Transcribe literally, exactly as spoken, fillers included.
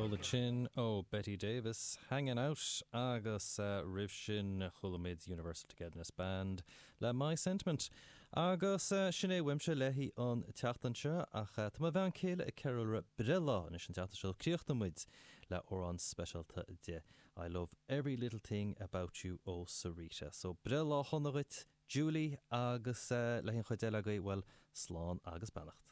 Ceol ansin ó Betty Davis Hanging Out agus uh, roimh sin chuala muid Universal Togetherness Band le My Sentiment. Agus uh, sin é uaimse le haghaidh an tseachtain seo ach uh, tá mo bhean chéile ag ceiliúradh breithlá anois an tseachtain seo críochnóimid le amhrán speisialta di. I love every little thing about you ó Sarita. So breithlá shona dhuit Julie agus uh, le an chuid eile agaibh well slán agus beannacht.